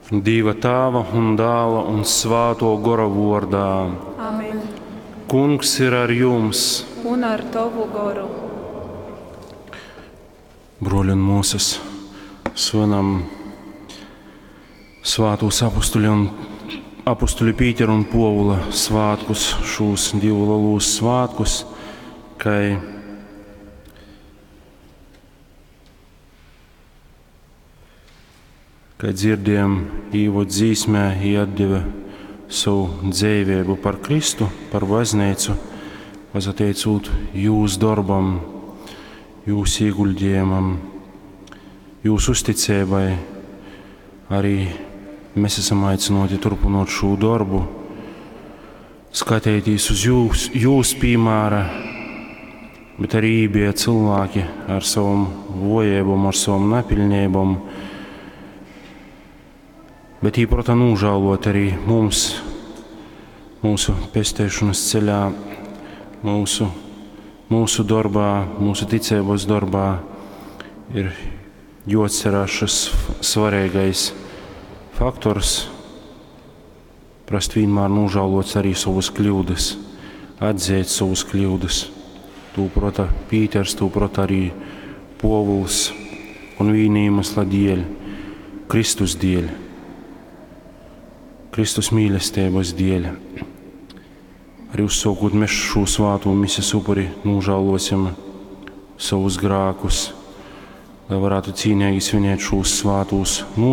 Dieva Tāva un Dāla un Svāto Gora vordā. Amen. Kungs ir ar jums! Un ar tovu goru. Broļi un mūsas, svinam svātūs apustuļu un apustuļu Pītera un Povula svātkus, šūs divu lielūs svātkus, kai Kai dzirdējam īvod dzīsmē, jī atdeva savu dzīvību par Kristu, par baznīcu, pasateicūt jūs darbam, jūs ieguldījumam, jūsu uzticībai. Arī mēs esam aicināti turpinot šo darbu, skatīties uz jūs, jūs piemēra, bet arī bija cilvēki ar savam vojībām, ar savam napilnībām, bet īprota nožēlot arī mums, mūsu pestēšanas ceļā, mūsu, mūsu darbā, mūsu ticības darbā ir jāatcerās šis svarīgais faktors, prast vienmēr nožēlot arī savas kļūdas, atzīt savas kļūdas. Tū prota Pīters, tū prota arī Povuls un viņa iemesla dēļ, Kristus dēļ. Kristus mīlestības dēļ. Arī uzsākot mēs šo svāto misijas upuri, nožēlosim savus grēkus, lai varētu cīnīgi svinēt šos svātos noslēpumus.